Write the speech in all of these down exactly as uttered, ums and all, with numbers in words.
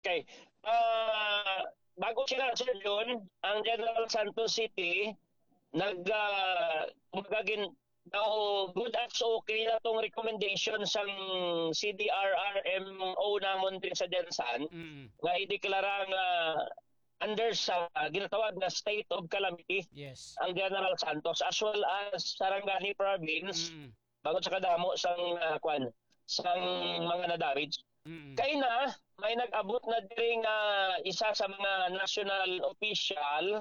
Okay. Ah, bago sila, Sir Jun, ang General Santos City, nag, ah, kumbaga gin-, daw good as okay na tong recommendation sang C D R R M O namon diri sa GenSan, Mm. nga ideklara nga under sa, ah, ginatawag na state of calamity Yes. ang General Santos, as well as Sarangani Province, Mm. bangod sa kadamo sang, ah, kwan, sang mga na-damage. Mm. Kay na, may nag-abot na diri nga isa sa mga national official,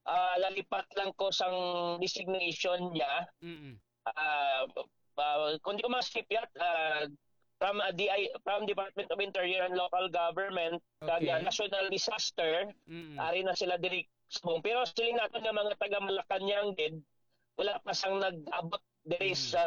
ah, lalipat lang ko sang designation niya. Mm. Ah, ah, kung di ko masipyat, ah, from, ah, D I, from Department of Interior and Local Government, kag, Okay. ah, National Disaster, Mm. ari na sila diri subong. Pero siling naton nga mga taga Malacañang gid, wala pa sang nag-abot diri Mm. sa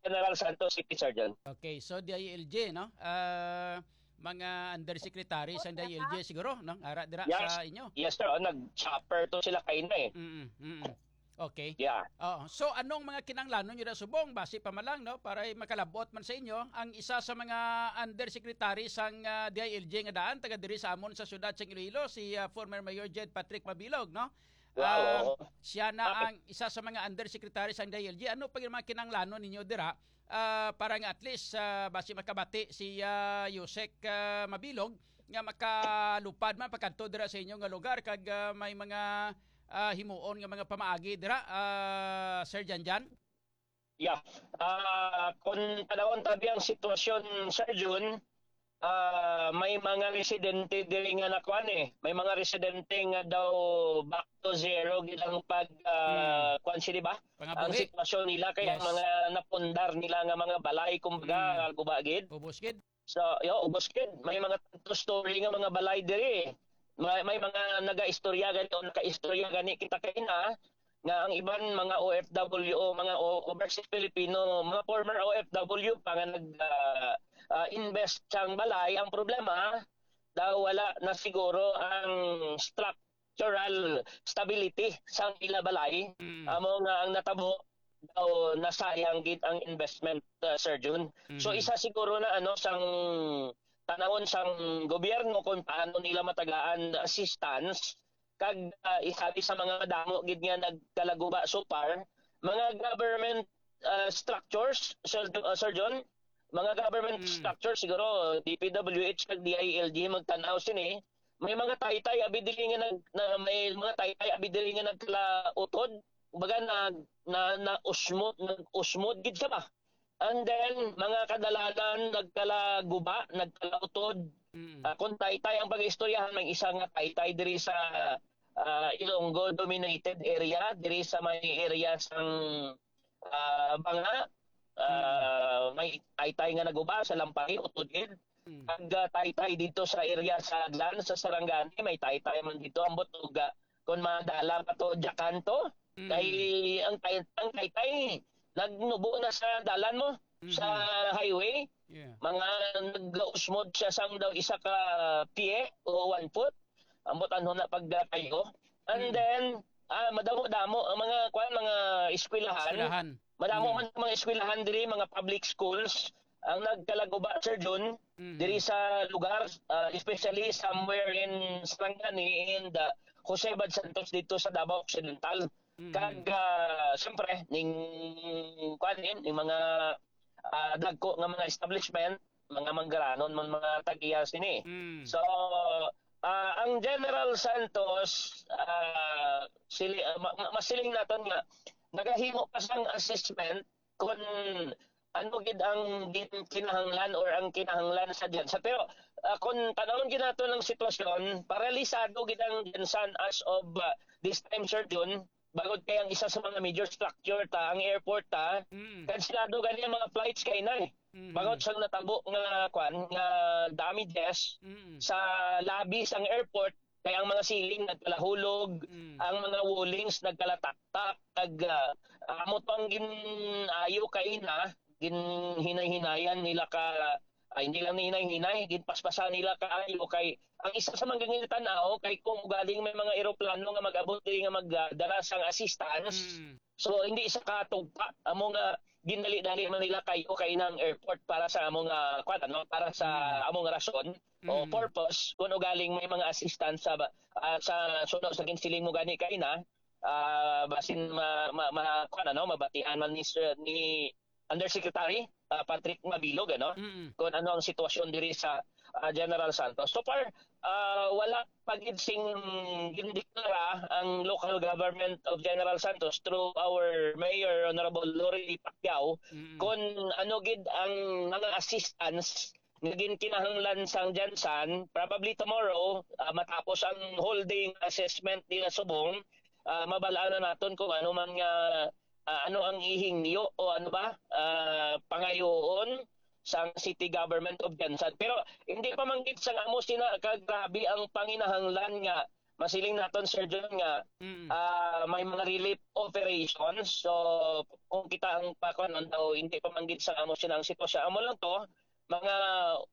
General Santos City, Sir John. Okay, so D I L G, no? Ah, mga undersecretary sang D I L G siguro, no? Ara dira Yes. sa inyo. Yes, sir. Oh, nag-chopper to sila kaina eh. Mm, mm. Okay. Yeah. Oo. So, anong mga kinahanglanon nyo na subong? Basi pa man lang, no? Para makalabot man sa inyo, ang isa sa mga undersecretary sang, ah, D I L G nga daan, taga diri sa amon sa siyudad sa Iloilo, si, ah, former Mayor Jed Patrick Mabilog, no? Wow, Ah, oo. siya na Bakit? ang isa sa mga undersecretary sang D I L G. Ano pa yung mga kinahanglanon ninyo dira? Ah, para nga at least, ah, basi makabati si, ah, Yusek, ah, Mabilog nga makalupad man pagkadto dira sa inyo nga lugar kag, ah, may mga, ah, himuon nga mga pamaagi dira, ah, Sir Janjan? Yeah. Ah, kung tanawon tabi ang sitwasyon, Sir Jun, ah, may mga residente diri nga nakuan eh. May mga residente nga daw back to zero gid ang pag, ah, Hmm. kuan sila ba? Ang Pangabuhi. sitwasyon nila kaya Yes. mga napundar nila nga mga balay, kumbaga, Hmm. guba gid. Ubos gid. So, yo, ubos gid. May mga tanto story nga mga balay diri. May, may mga nagaistorya gani o nakaistorya gani kita kaina nga ang iban mga O F W o mga o-, overseas Filipino, mga former O F W pa nga nag, ah, ah, invest sang balay. Ang problema, daw wala na siguro ang structural stability sang ila balay. Mm. Amo nga ang natabo, daw nasayang gid ang investment, uh, Sir Jun. So, Mhm. isa siguro na ano sang tanawon sang gobyerno kung paano nila matagaan assistance kag, uh, isa sa mga madamo gid nga nagkalaguba so far, mga government, uh, structures, Sir, uh, Sir John, mga government Mm. structures siguro, D P W H kag D I L G magtan-aw sini. May mga taytay abi diri nga nag-, na, may mga taytay abi diri nga nagkalautod. Kumbaga, nag-, na, na usmod, nag-usmod gid siya ba? And then, mga kadalanan, nagkalaguba, nagkalautod. Mm. Ah, kung taytay ang pag-istoryahan, may isa nga taytay diri sa, ah, Ilonggo dominated area, diri sa may area sang, ah, Banga, ah, may taytay nga naguba sa Lampari, utod gid. Mm. Kag, ah, taytay dito sa area sa Aglan, sa Sarangani, may taytay man dito, ambot og, ah, kung madala pa to, Jacanto, Mm. kay ang tay-, ang taytay, nagnubo na sa dalan mo, sa Mhm. highway. Yeah. Mga nag-usmod siya sang daw isa ka pie o one foot. Ambot ano na pagkatayo. And Mm. then, ah, madamo-damo ang mga, kuwan, mga eskwelahan. Eskwelahan. Madamo Mm. man mga eskwelahan diri, mga public schools, ang nagkalaguba, Sir Jun, Mm. diri sa lugar, ah, especially somewhere in Sarangani and, ah, Jose Bad Santos dito sa Davao Occidental. Mm. Kag, ah, siyempre, ning, kuwan, ning mga, ah, dagko nga mga establishment, mga manggaranon man mga tag-iya sini. Mm. So, ah, ang General Santos, ah, sili-, ah, ma-, ma-, masiling naton nga nagahimo pa sang assessment kung ano gid ang gin-, kinahanglan or ang kinahanglan sa GenSan. Pero, ah, kung tanawon gid naton ang sitwasyon, paralisado gid ang GenSan as of, ah, this time, Sir Jun. Bangod kay ang isa sa mga major structure ta, ang airport ta, Mm. kansilado gani ang mga flights kay na eh. Mhm. Bangod sa natabo nga, kwan, nga damages Mm. sa lobby sang airport, kay ang mga ceiling nagkalahulog, Mm. ang mga wallings nagkalataktak, nag, ah, amo to ang gin-ayo kay na, ginhinay-hinayan nila ka, ay, hindi lang hinay-hinay, ginpaspasan nila kaayo kay ang isa sa mga ginatanaw kay kung ugaling may mga eroplano nga mag-abot diri nga magdala sang assistance, Mm. so hindi sa katugpa amo nga ginali-dali man nila kayo kay nang airport para sa among, ah, kwan, ano, para sa Mm. among rason o Mm. purpose, kung ugaling may mga assistance sa ba-, ah, sa suno sa ginsiling mo gani kaina, ah, basin ma-, ma-, ma-, kwan, ano, mabatian man ni Sir, ni Undersecretary, ah, Patrick Mabilog, ano, Mm. kung ano ang sitwasyon diri sa, ah, General Santos. So far, ah, wala pa gid sing gindeklara ang local government of General Santos through our mayor, Honorable Lori Pacquiao, Mm. kung ano gid ang mga assistance nga ginkinahanglan sang Gensan. Probably tomorrow, ah, matapos ang whole day nga assessment nila subong, ah, mabal-an na naton kung ano man nga, ah, ano ang ihingyo o ano ba, ah, pangayoon sang City Government of Gensan. Pero hindi pa man gid sang amo sina kagrabe ang panginahanglan nga masiling naton, Sir John, nga, Mm. ah, may mga relief operations. So, kung kita ang pa-, kuwan, daw, hindi pa man gid sang amo sina ang sitwasyon. Amo lang to, mga,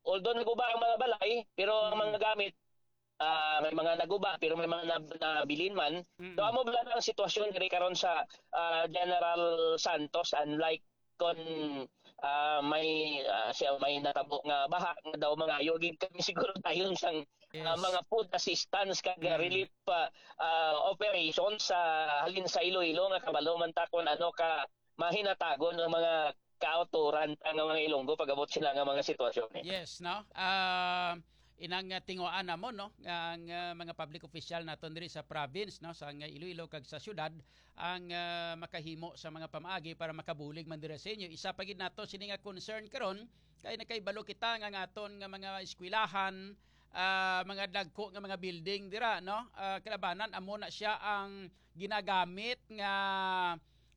although naguba ang mga balay, pero ang Mm. mga gamit, ah, may mga naguba, pero may mga nab-, nabilin man. Mm. So, amo bala na ang sitwasyon diri karon sa, ah, General Santos, unlike kon, ah, may, ah, siya, may natabo nga baha nga daw mangayo gid kami siguro dayon sang, ah, Yes. mga food assistance kag Mm. relief, ah, ah, operations sa halin sa Iloilo nga kabalo man ta kon ano ka mahinatagon ang mga kauturan ta nga mga Ilonggo pag-abot sila nga mga sitwasyon, eh. Yes, no? Ah, inang, ah, tinguhaan namon, no, nga ang, ah, mga public official naton diri sa province, no, sa nga Iloilo kag sa syudad, ang, ah, makahimo sa mga pamaagi para makabulig man dira sa inyo. Isa pa gid nato sini nga concern karon kay nakahibalo kita nga ang aton nga mga eskwelahan, ah, mga dagko nga mga building dira, no? Ah, kalabanan amo na siya ang ginagamit nga,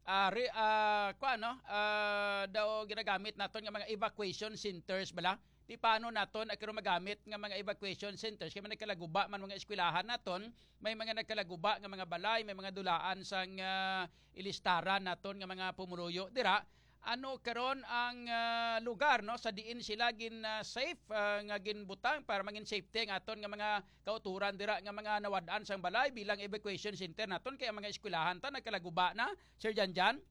ah, re-, ah, kuwan, no? Ah, daw ginagamit naton nga mga evacuation centers bala. Ti paano naton ang karon magamit nga mga evacuation centers? Kay may nagkalaguba man mga eskwelahan naton, may mga nagkalaguba nga mga balay, may mga dulaan sang, ah, ilistaran naton nga mga pumuluyo dira. Ano karon ang, ah, lugar, no, sa diin sila gin, ah, safe, ah, nga ginbutang para mangin safety ang aton nga mga kauturan dira nga mga nawad-an sang balay bilang evacuation center naton kay ang mga eskwelahan ta nagkalaguba na, Sir Janjan?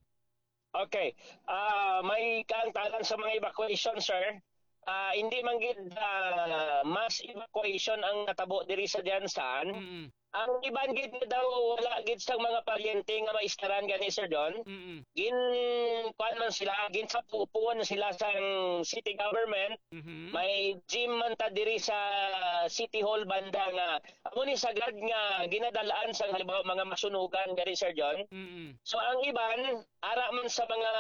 Okay. Ah, may kaangtanan sa mga evacuation, sir. Ah, hindi man gid, ah, mass evacuation ang natabo diri sa Jansan. Mm. Ang iban gid nga daw wala gid sang mga paryente nga maistaran gani, Sir John. Mm. Gin-, kuwan man sila, ginsapupon sila sang city government. Mhm. May gym man ta diri sa City Hall banda nga amo ni sagad nga ginadalaan sang halimbawa mga masunugan gani, Sir John. Mm. So ang iban ara man sa mga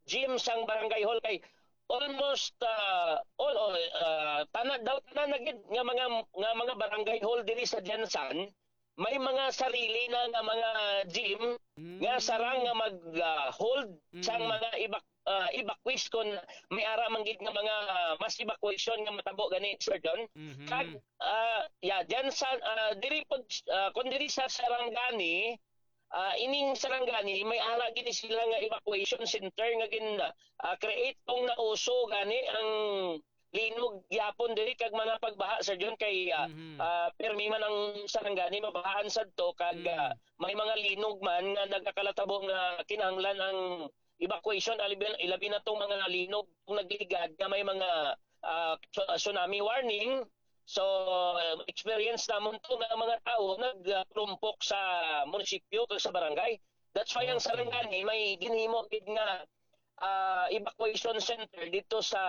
gym sang barangay hall kay almost, ah, all, all, ah, tanan daw, tanan na gid nga mga, nga mga barangay hall diri sa Gensan, may mga sarili na nga mga gym Mm. nga sarang nga mag, ah, hold sang Mm. mga evac-, ah, evacuees kon may ara man gid nga mga, ah, mass evacuation nga matabo gani, Sir John. Mhm. Kag, ah, yeah, Gensan, ah, diri pod, ah, kon diri sa Sarangani, ah, ining Sarangani, may ara gid sila nga evacuation center nga gin, ah, create kung nauso gani ang linog gyapon diri kag mga pagbaha, Sir John, kay, ah, Mhm. ah, pirmi man ang Sarangani, mabahaan sad to kag, Mm. ah, may mga linog man nga nagakalatabo nga kinahanglan ang evacuation, ilabi, ilabi na tong mga linog kung nagligad nga may mga, ah, tsu-, tsunami warning. So, ah, experience namon to nga mga tao nagtulumpok sa munisipyo kag sa barangay. That's why ang Okay. Sarangani may ginhimo gid nga, ah, evacuation center dito sa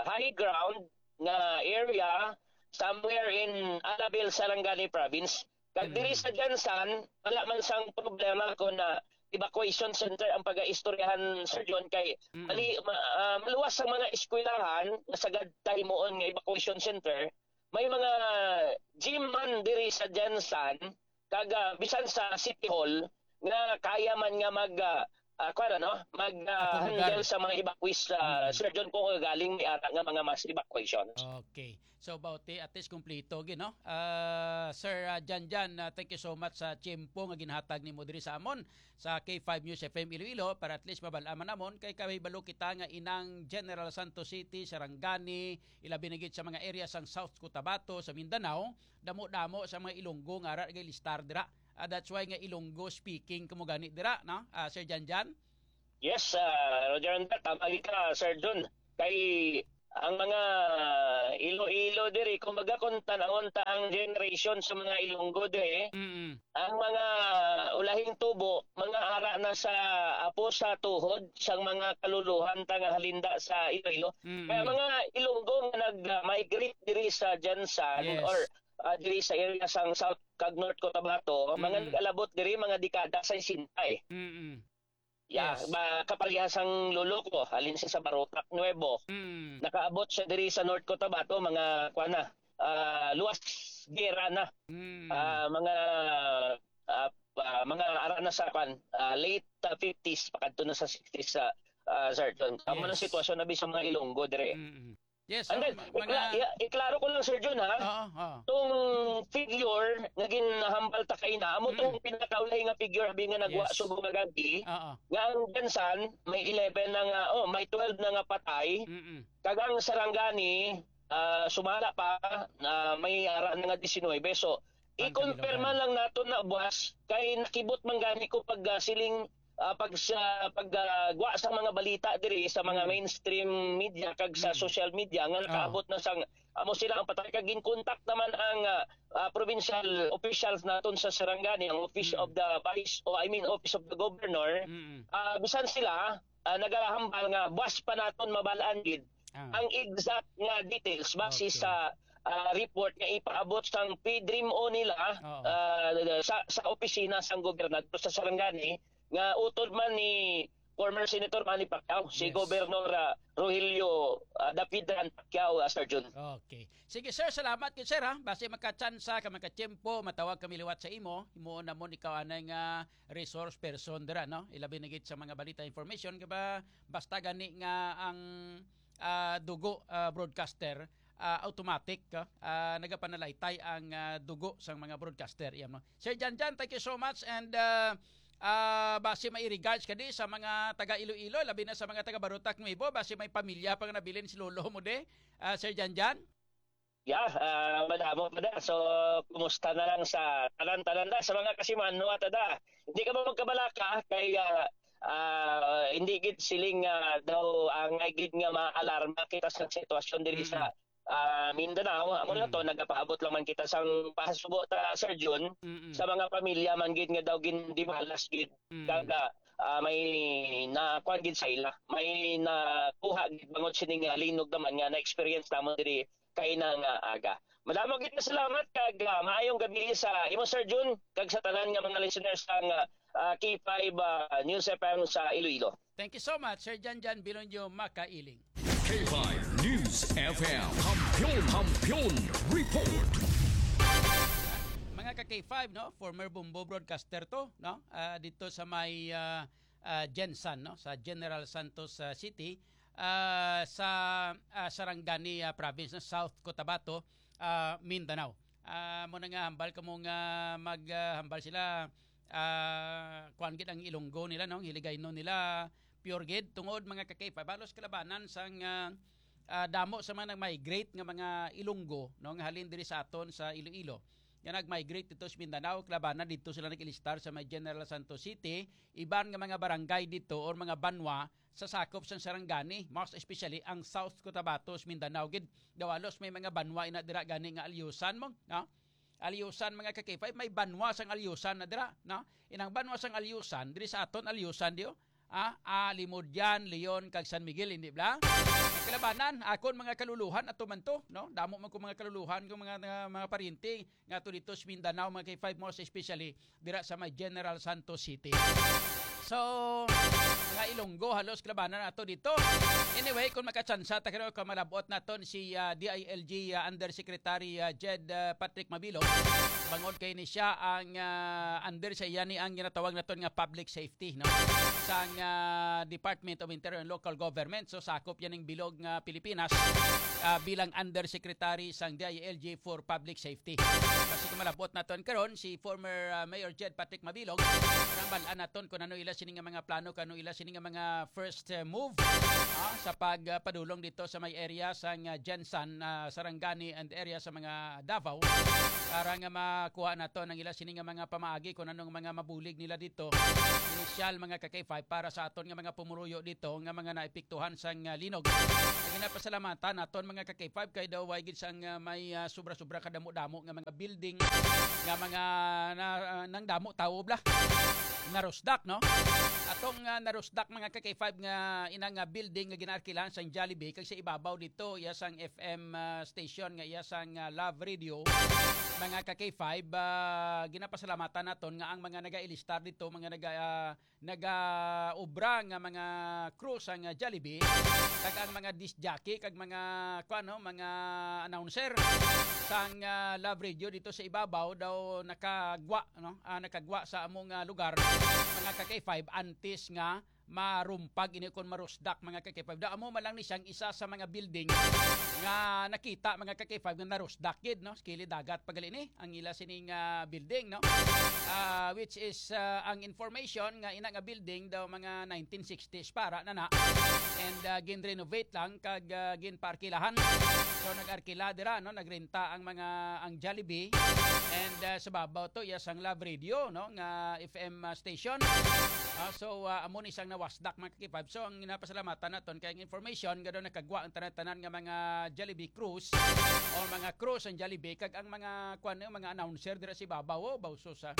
high ground nga area somewhere in Alabel, Sarangani province. Kag diri Mm. sa Gensan, wala man sang problema kung na evacuation center ang pag-aistoryahan, Sir John, kay Mm. mali-, ma-, ah, maluwas ang mga eskwelahan nga sagad ta himuon nga evacuation center. May mga gym man diri sa Gensan, kag, ah, bisan sa City Hall, nga kaya man nga mag, ah, ah, kuwan, ano, mag, ah, Akomodahan. handle sa mga evacuees, ah, Mm. Sir John, kung galing may ara nga mga mass evacuation. Okay. So, about the, at least, kumplito, gid, no? Ah, Sir, ah, Janjan, ah, thank you so much sa tiyempo nga ginhatag nimo diri sa amon sa K five News F M Iloilo para at least mabal-an man namon kay kabalo kita nga inang General Santos City, Sarangani, ilabi na gid sa mga area sang South Cotabato, sa Mindanao, damo-damo sa mga Ilonggo nga ara gay listar dira. Ah, that's why nga Ilonggo speaking kamo gani dira, no? Ah, Sir Janjan? Yes, ah, Roger Andal, tama gid ka, Sir Jun. Kay ang mga Iloilo diri, kumbaga, kung tanawon ta ang generation sa mga Ilonggo diri, Mm-mm. ang mga ulahing tubo, mga ara na sa apo sa tuhod sang mga kaluluhan ta nga halinda sa Iloilo. Mm-mm. Kaya mga Ilonggo nga nag-migrate diri sa Gensan Yes. or, ah, diri sa area sang South kag North Cotabato, mga Mm-mm. nag-alabot diri, mga dekada sa sesenta eh. Mm-mm. Yeah, Yes. ba, kaparehas ang lolo ko, halin siya sa Barotac Nuevo. Mm. Nakaabot siya diri sa North Cotabato, mga, kuwan na, ah, luwas gera na. Mm. Ah, mga, ah, ah, mga ara na sa, kuwan, ah, late, ah, fifties, pakadto na sa sixties sa, ah, Sir John. Tama ang Yes. sitwasyon na sa mga Ilonggo dire. Mm. Yes, And so, then, ma-, mga ikla-, ya-, iklaro ko lang, Sir Jun, ha? Oo, oo. Tong figure nga ginahambal ta kay na, amo tong Mm. pinakaulay nga figure, abi nga nagwa Yes. subong nga gagi, Oo. nga ang Gensan, may eleven na nga, oh, may twelve na nga patay, Mm-mm. kag ang Sarangani, ah, sumala pa, na may ara na nga diecinuebe. So, Ang i-confirm kabilugan. man lang naton na, buwas, kay nakibot man gani ko pag, ah, siling ah, pag sa, pag, ah, gwa sa mga balita diri sa mga Mm. mainstream media kag sa Mm. social media nga Oo. nakaabot na sang amo sila ang patay, kag ginkontak naman ang, ah, ah, provincial officials naton sa Sarangani, ang Office Mm. of the Vice, o I mean, Office of the Governor. Mm. Ah, bisan sila, ah, nagahambal nga buwas pa naton mabal-an gid Ah. ang exact nga details base Okay. sa, ah, report nga ipaabot sang P-DRMO nila, Oo. ah, sa, sa opisina sang gobernador sa Sarangani, nga utod man ni former Senator Manny Pacquiao, si Yes. Governor, ah, Rogelio, ah, Dapidan Pacquiao, ah, Sir Jun. Okay. Sige, sir, salamat gid, sir, ha. Basi makatsansa ka, makatiyempo, matawag kami liwat sa imo. Himuon namon ikaw anay nga resource person dira, no? Ilabi na gid sa mga balita, information, ka ba? Basta gani nga ang, ah, dugo, ah, broadcaster, ah, automatic, ah, ah, nagapanalaytay ang, ah, dugo sang mga broadcaster. Iya, no? Sir Janjan, thank you so much, and, ah, ah, basi may regards ka di sa mga taga Iloilo, labi na sa mga taga Barotac Nuevo, basi may pamilya pa nga nabilin si lolo mo di, ah, Sir Janjan? Yeah, ah, madamo pa da. So, kumusta na lang sa tanan-tanan da, sa mga kasimanwa ta da. Hindi ka ba magkabalaka kay, ah, ah, hindi gid siling, ah, daw angay gid nga maalarma kita sa sitwasyon diri Mm. sa, ah, Mindanao. Amo na Mm. to, nagapaabot lang man kita sang pahasubo ta, Sir Jun, Mm. sa mga pamilya man gid nga daw gindimalas gid. Mm. Kag, ah, ah, may nakuan gid sa ila. May nakuha gid bangod sining, ah, linog naman nga na-experience namon diri kaina nga aga. Madamo gid nga salamat kag, ah, maayong gabi sa imo, Sir Jun, kag sa tanan nga mga listeners sang, ah, ah, K five, ah, News F M sa Iloilo. Thank you so much, Sir Janjan Bilonyo Makailing. K five News F M, Kampiyon, Kampiyon Report. Mga ka K five, no? Former Bombo broadcaster to, no? Ah, dito sa may, ah, ah, Gensan, no? Sa General Santos, ah, City, ah, sa, ah, Sarangani, ah, Province, no? South Cotabato, ah, Mindanao. Ah, mo na nga hambal kamo nga mag, ah, hambal sila, ah, kuwan gid ang Ilonggo nila, no? Ang Hiligaynon nila, pure gid. Tungod, mga ka-K five, halos kalabanan sang, ah, ah, damo sa mga nag-migrate nga mga Ilonggo, no? Nga halin diri sa aton sa Iloilo. Nga nag-migrate dito sa Mindanao, kalabanan dito sila nag-ilistar sa may General Santos City, iban nga mga barangay dito or mga banwa sa sakop sang Sarangani, most especially ang South Cotabato sa Mindanao gid. Daw halos may mga banwa ina dira gani nga Alyusan mo, no? Alyusan, mga ka-K five, may banwa sang Alyusan na dira, no? Inang banwa sang Alyusan, diri sa aton Alyusan, di, oh. Ah, ah, Limodian, Leon, kag San Miguel, hindi bla? Kalabanan, akon mga kaluluhan, ato man to, no? Damo man ko mga kaluluhan, kung mga, mga, mga pariente, nga to dito sa Mindanao, mga K five, most especially, dira sa may General Santos City. So, mga Ilonggo, halos kalabanan nato dito. Anyway, kung makatsansa ta kayo, kung malabot naton si, ah, D I L G, ah, Undersecretary, ah, Jed, ah, Patrick Mabilog, bangod kay ni siya ang, ah, under sa iya ni ang ginatawag naton nga public safety, no? Sang, ah, Department of Interior and Local Government. So, sakop yan ng bilog nga Pilipinas. ah, bilang undersecretary sang D I L G for Public Safety. Basi kung malabot naton karon si former, ah, Mayor Jed Patrick Mabilog, para mabalaan naton kung ano ila sini nga mga plano, kung ano ila sini nga mga first, ah, move, ah, sa pag, ah, padulong dito sa may area sang, ah, GenSan, ah, Sarangani and area sa mga Davao, para nga makuha naton ang ila sini nga mga pamaagi kung anong mga mabulig nila dito. Inisyal, mga ka-K five, para sa aton nga mga pumuruyo dito nga mga naepektuhan sang, ah, linog. Ang ginapasalamatan naton, mga ka-K five, kay daw way gid sang, ah, may, ah, sobra-sobra kadamo-damo nga mga building nga mga na, ah, nang damo tawo bla. Narusdak, no? Atong, ah, narusdak, mga ka-K five, nga ina nga building nga ginaarkilahan sang Jollibee, kag sa ibabaw dito, iya sang F M, ah, station nga iya sang, ah, Love Radio, mga ka-K five, ah, ginapasalamatan naton nga ang mga nagailistar dito, mga naga, ah, nagaobra nga mga crew sang, ah, Jollibee, kag ang mga disc jockey, kag mga, kuwan, no, mga announcer sang, ah, Love Radio dito sa ibabaw daw nakagwa, no? Ah, nakagwa sa among, ah, lugar, mga ka-K five, antes nga marumpag ini kon marusdak, mga ka-K five. Daw amo man lang ni siyang isa sa mga building nga nakita, mga ka-K five, nga narusdak gid, no? Kilid dagat pa gali ni ang ila sining, ah, building, no? Ah, which is, ah, ang information nga ina nga building daw mga nineteen sixties para na na. And, ah, gin-renovate lang kag, ah, ginpaarkilahan. So, nag-arkila dira, no? Nagrenta ang mga, ang Jollibee. And, ah, sa babaw to, iya sang Love Radio, no? Nga F M, ah, station. Ah, so, ah, amo ni sang nawasdak, mga ka-K five. So, ang ginapasalamatan naton kay ang information nga daw nakagwa ang tanan-tanan nga mga Jollibee crews o mga crews ang Jollibee, kag ang mga, kuwan, mga announcer dira sa ibabaw, oh, bawsos, ah.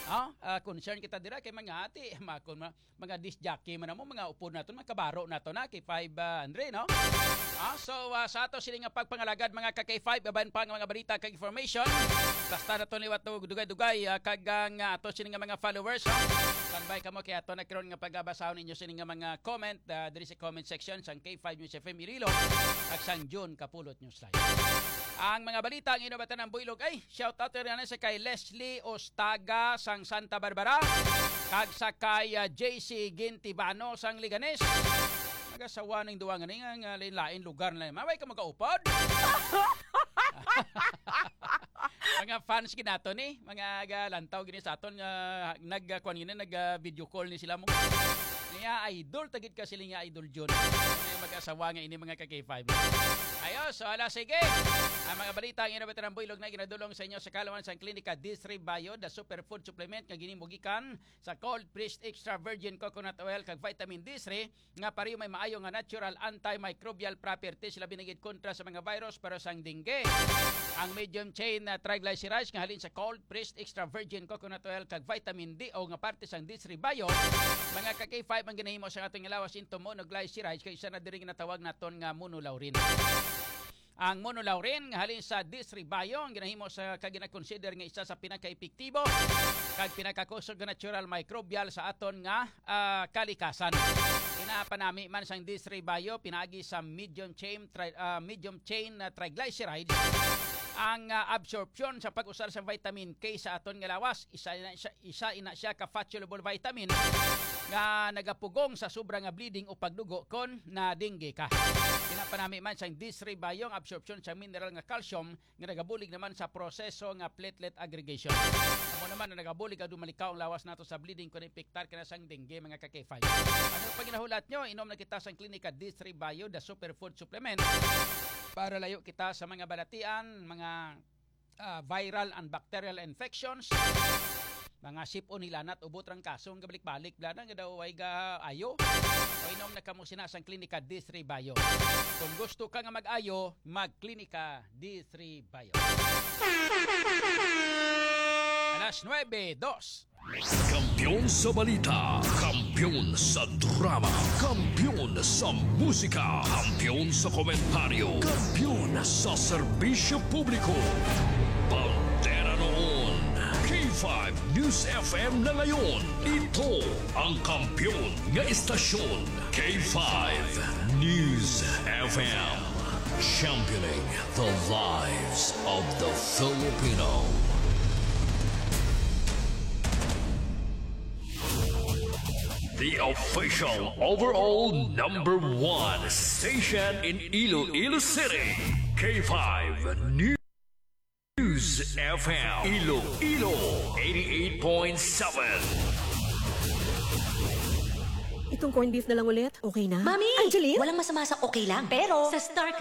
Ah, ah, concern kita dira kay mga ati, makon ma-, mga disc jockey man mo, mga upod naton, mga kabaro naton na, K five, ah, Andre, no? Ah, so, ah, sa ato sini nga pagpangalagad, mga ka-K five, iban pa nga mga balita kag information. Basta naton liwat to dugay-dugay, ah, kag ang, ah, ato sini nga mga followers, ah. Standby kamo kay ato na karon nga pagabasahon ninyo sini nga mga comment, ah, diri sa comment section sang K five News F M Iloilo at sang June Kapulot Newsline. Ang mga balita ang inobatan ng Buylog ay shout out rin sa kay Leslie Ostaga sang Santa Barbara kag sa kay, ah, J C Gintibano sang Leganes. Magasawa ning duwa nga ni nga, nga lain-lain lugar na. Maway ka magaupod? Mga fans ginato ni, mga galantaw gini sa aton nga nag, ah, kuwan gini, nag, ah, video call ni sila mo. Niya idol tagit ka sila nga idol Jun. Kaya mag-asawa nga ini mga ka-K five. Ayo, so ala sige. Ang mga balita ang inabot ng Buylog na ginadulong sa inyo sa kalaman sang Klinika D three Bio, the superfood supplement nga ginimugikan sa cold pressed extra virgin coconut oil kag vitamin D three nga pareho may maayo nga natural antimicrobial properties, labi na gid kontra sa mga virus pero sang dengue. Ang medium chain na triglycerides nga halin sa cold pressed extra virgin coconut oil kag vitamin D O nga parte sang D three Bio, mga ka-K five, ang ginahimo sa aton nga lawas into monoglycerides kay isa na diri ginatawag naton nga monolaurin. Ang monolaurin nga halin sa D three Bio ang ginahimo sa kag ginakonsider nga isa sa pinakaepektibo kag pinakakusog nga natural microbial sa aton nga, ah, kalikasan. Ginapanami man sang D three Bio pinaagi sa medium chain tri-, ah, medium chain na triglycerides ang, ah, absorpsyon sa pag-usar sa vitamin K sa aton nga lawas. Isa na siya, isa ina siya ka fat-soluble vitamin nga nagapugong sa sobra nga bleeding o pagdugo kon na dengue ka. Ginapanami man sang D three Bio ang absorpsyon sa mineral nga calcium nga nagabulig naman sa proseso nga platelet aggregation. Amo naman na nagabulig ang dumalikaw ang lawas nato sa bleeding kon infektar ka na sang dengue, mga ka-K five. Ano pa ginahulat nyo? Inom na kita sang Klinika D three Bio, the superfood supplement. Para layo kita sa mga balatian, mga, ah, viral and bacterial infections, mga sipon, hilanat, ubot, trangkaso, nga balik-balik, bla na, nga daw ay ga-ayo. O inom na kamo sina sang Klinika D three Bio. Kung gusto ka nga mag-ayo, mag-Klinika D three Bio. Alas nuebe, dos. Kampiyon sa balita, kampiyon sa drama, kampiyon sa musika, kampiyon sa komentaryo, kampiyon sa serbisyo publiko. Bandera noon, K five News F M na ngayon. Ito ang kampiyon nga istasyon, K five News F M. Championing the lives of the Filipino. The official overall number one station in Iloilo City, K five News F M, Iloilo eighty-eight point seven. Itong corned beef na lang ulit. Okay na? Mami! Angeline? Walang masama sa okay lang. Pero sa Star